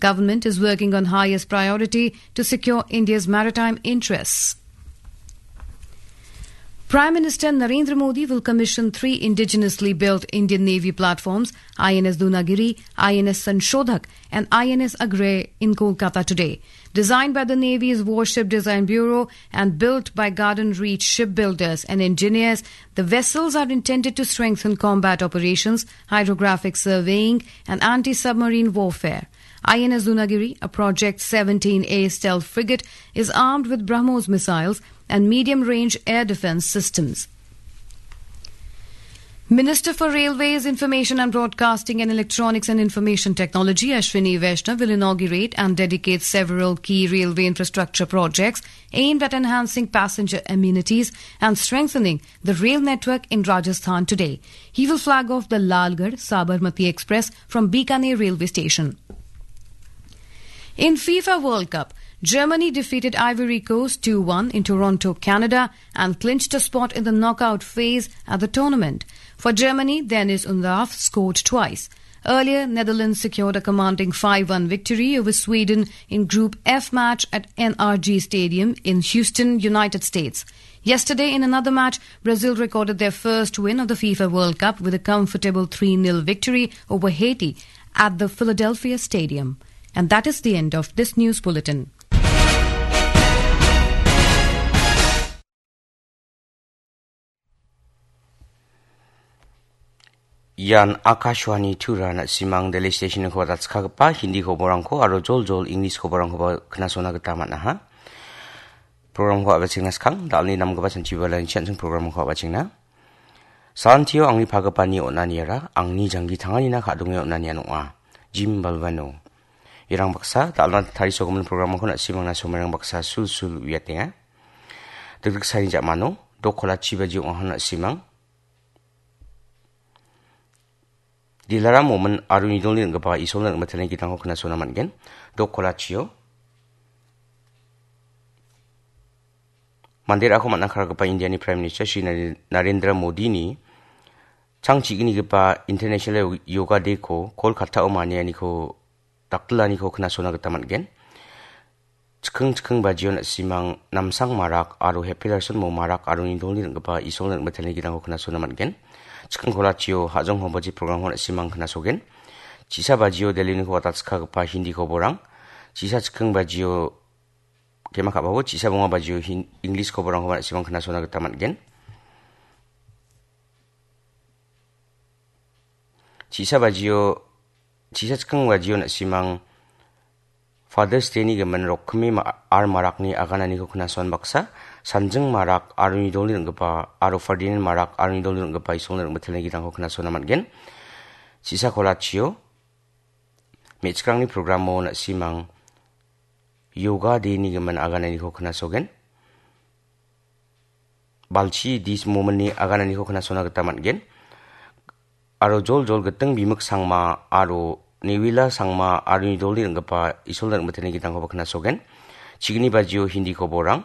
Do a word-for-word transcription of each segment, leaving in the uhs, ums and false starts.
Government is working on highest priority to secure India's maritime interests. Prime Minister Narendra Modi will commission three indigenously built Indian Navy platforms, I N S Dunagiri, I N S Sanshodhak, and I N S Agrey in Kolkata today. Designed by the Navy's Warship Design Bureau and built by Garden Reach shipbuilders and engineers, the vessels are intended to strengthen combat operations, hydrographic surveying, and anti-submarine warfare. I N S Dunagiri, a Project seventeen A stealth frigate, is armed with BrahMos missiles and medium-range air defense systems. Minister for Railways, Information and Broadcasting and Electronics and Information Technology, Ashwini Vaishnaw, will inaugurate and dedicate several key railway infrastructure projects aimed at enhancing passenger amenities and strengthening the rail network in Rajasthan today. He will flag off the Lalgarh Sabarmati Express from Bikaner railway station. In FIFA World Cup, Germany defeated Ivory Coast two one in Toronto, Canada, and clinched a spot in the knockout phase at the tournament. For Germany, Deniz Undav scored twice. Earlier, Netherlands secured a commanding five one victory over Sweden in Group F match at N R G Stadium in Houston, United States. Yesterday, in another match, Brazil recorded their first win of the FIFA World Cup with a comfortable three nil victory over Haiti at the Philadelphia Stadium. And that is the end of this news bulletin. Ian Akashvani Tura na·simang Delhi Station-ko datskagipa Hindi koborangko aro joljol English koborangkoba knasona gita man·aha. Programko a·bachengaskang, da·alni namgipa sanchibalani chi an·ching programko a·bachengna. Salantio angni pagipani on·aniara angni janggi tanganina ka·donge on·anian ong·a. Jim Balvano. Irang baksa, da·alna tarisogimin programko na·simangna somairang baksa sulsul uiatenga. Dikdiksani ja·mano, dok kolachi baji ong·aha na·simang. Dilaram momin aro nidolni ring·gipa Isolna ring·mitelni gitangko knasona man·gen. Dok kolachio. Manderangko man·a karigipa Indiani Prime Minister Shri Nare-, Narendra Modini chang chi·gnigipa International Yoga Day-ko Kolkata-o manianiko daktilaniko knasona gita man·gen. Chikking chikking bajio na·simang Namsang Marak aro Happy Larson Mo Marak aro nidolni ring·gipa Isolna ring·mitelni gitangko knasona man·gen. Chikking kolachio Hajong Hobaji programko na·simang knasogen. Chisa bajio Delhiniko watatskagipa Hindi koborang. Chisa chikking bajio Kema ka·babo chisa bonga bajio Hin-, English koborangkoba na·simang knasona gita man·gen. Chisa bajio, chisa chikking bajio na·simang Father's Day-ni gimin rokkimi ma-, ar marakni agananiko knason baksa, Sanjing Marak aro nidolni ring·gipa, aro Ferdinand Marak aro nidolni ring·gipa Isolna ring·mitelni gitangko knasona man·gen. Chisa kolachio, me·chikrangni programo na·simang Yoga Day-ni gimin agananiko knasogen. Balchi dis mominni agananiko knasona gita man·gen. Aro jol jol giting bimik sangma aro Newila sangma aro nidolni ring·gipa Isolna ring·mitelni gitangkoba knasogen. Chigni bajio Hindi koborang.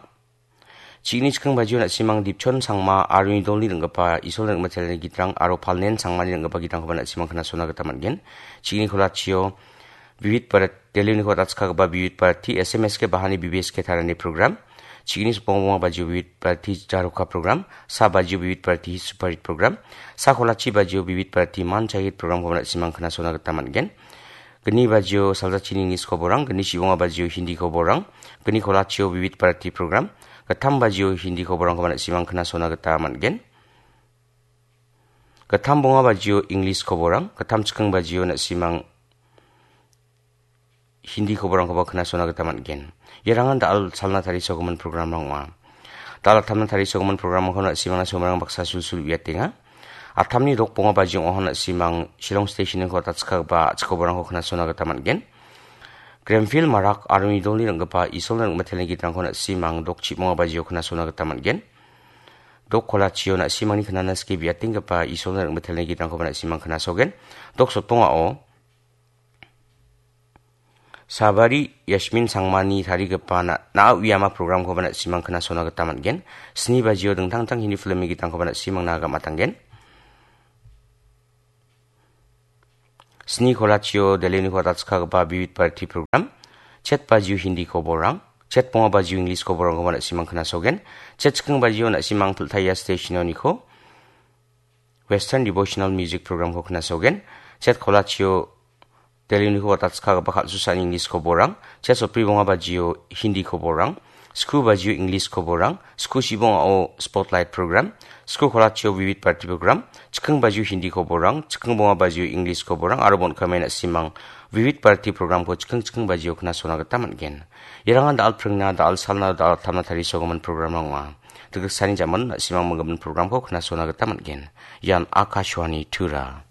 Chigni chikking bajio na·simang Dipchon sangma aro nidolni ring·gipa Isolna ring·mitelni gitrang aro Palnen sangmani ring·gipa gitrangkoba na·simang knasona gita man·gen. Chigni kolachio Vivid Bharat, Delhiniko datskagipa Vivid Bharati, S M S K bahani B B S K tarani program. Chigni sipong bonga bajio Vivid Bharati Jaroka program, sa bajio Vivid Bharati Super Hit program, sa kolachi bajio Vivid Bharati Man Chahit programkoba na·simang knasona gita man·gen. Gni bajio Saljachini English koborang, gni chibonga bajio Hindi koborang, gni kolachio Vivid Bharati program, gittam bajio Hindi koborangkoba na·simang knasona gita man·gen. Gittam bonga bajio English koborang, gittam chikking bajio na·simang Hindi koborangkoba knasona gita man·gen. Iarangan da·al salna tarisogimin programrang ong·a. Da·al attamna tarisogimin programrangko na·simangna somarang baksa sulsul uiatenga. Attamni dok bonga bajio ong·aha na·simang Shillong Station-ko datskagipa a·chik koborangko knasona gita man·gen. Grenville Marak aro nidolni ring·gipa Isolna ring·mitelni gitrangko na·simang dok chibonga bajio knasona gita man·gen. Dok kolachio na·simangni knana skie biatenggipa Isolna ring·mitelni gitrangkoba na·simang knasogen. Dok sotongao Sabari Yasmin Sangmani tarigipa na-, na·a uiama programkoba na·simang knasona gita man·gen. Sni bajio dingtang dingtang Hindi filmni gitrangkoba na·simangna gam·atanggen. Sni kolachio Delhi-niko datskagipa Vivid Bharati program, chet bajio Hindi koborang, chet bonga bajio English koborangkoba na·simang knasogen, chet chikking bajio na·simang Piltaya Stationoniko Western Devotional Music Programko knasogen, chet kolachio Delhi-niko datskagipa kal·susani English koborang, chet sotbri bonga bajio Hindi koborang, sku bajio English koborang, sku sibongao Spotlight program, sku kolachio Vivid Bharati program, chikking bajio Hindi koborang, chikking bonga bajio English koborang, aro bon·kame na·simang Vivid Bharati programko chikking chikking bajio knasona gita man·gen. Irangan da·al pringna, da·al salna, da·al tamna tarisogimin programrang ong·a. Dikriksani jamon na·simang minggimin programko knasona gita man·gen. Ian Akashvani Tura.